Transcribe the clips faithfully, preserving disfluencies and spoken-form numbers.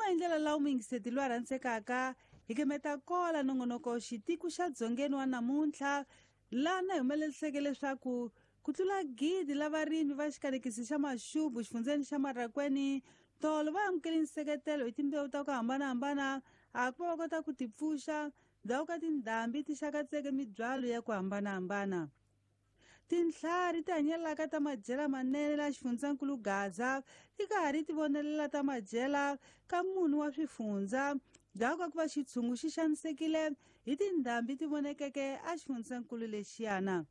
hi ndlela laha muyingiseti loyi a rhandzekaka hi kemeta kola nongonoko xitiku xa dzongeni wa namuntlha laha na hi humeleliseke leswaku ku tlula gidi la varimi va xikalekisi xa Maxubu xifundzeni xa Marracuene tolo va amukele nseketelo hi timbewu ta ku hambanahambana a ku va va kota ku tipfuxa ndzhaku ka tindhambi ti xakatseke mibyalo ya ku hambanahambana. Tintlhari ti hanyelaka ta madyela manene la xifundzankulu Gaza ti karhi ti vonelela ta madyela ka munhu wa swifundza ndzhaku ka ku va xitshungu xi xanisekile hi tindhambi ti vonekeke a xifundzankulu lexiyana.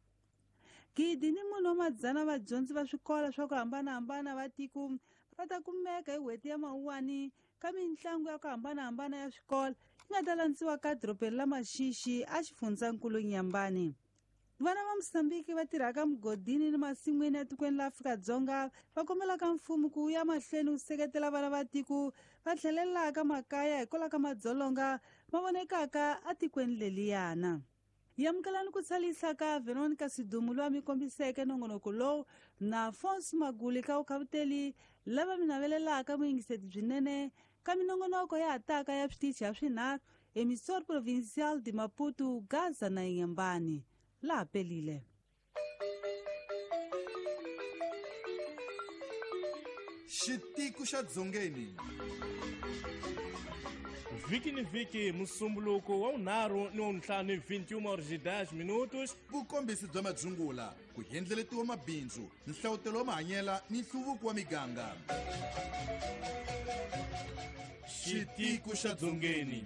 Gidi ni munhu wa madzana vadyondzi va swikolo swa ku hambanahambana va tiko va ta kumeka hi n'hweti ya Mawuwani ka mitlangu ya ku hambanahambana ya swikolo yi nga ta landziwa ka dorobeni la Maxixi a xifundzankulu Nyambani. Vana va Mozambique va tirhaka mugodini ni masin'wini etikweni la Afrika-Dzonga va kombelaka mfumo ku ya mahlweni wu seketela vana va tiko va tlhelelaka makaya hikwalaho ka madzolonga ma vonekaka etikweni leliyana. Yamukelani ku tshalisa ka Veronica Sidumu loyi a mi kombiseke nongonoko lowu na Afonso Maguli ka vukhavuteli lava mi navelelaka vuyingiseti byinene ka minongonoko ya hataka ya switichi ya swinharhu Emissor Provincial de Maputo, Gaza na Inhambane. Laha pelile. Xitiku xa Dzongeni. Vhiki ni vhiki musumbuluko wa vunharhu ni wa vuntlhanu hi vinte e uma horas e dez minutos. Vukombisi bya madzungula, ku endleletiwa mabindzu, nhlawutelo wa mahanyela ni nhluvuko wa miganga. Xitiku xa Dzongeni.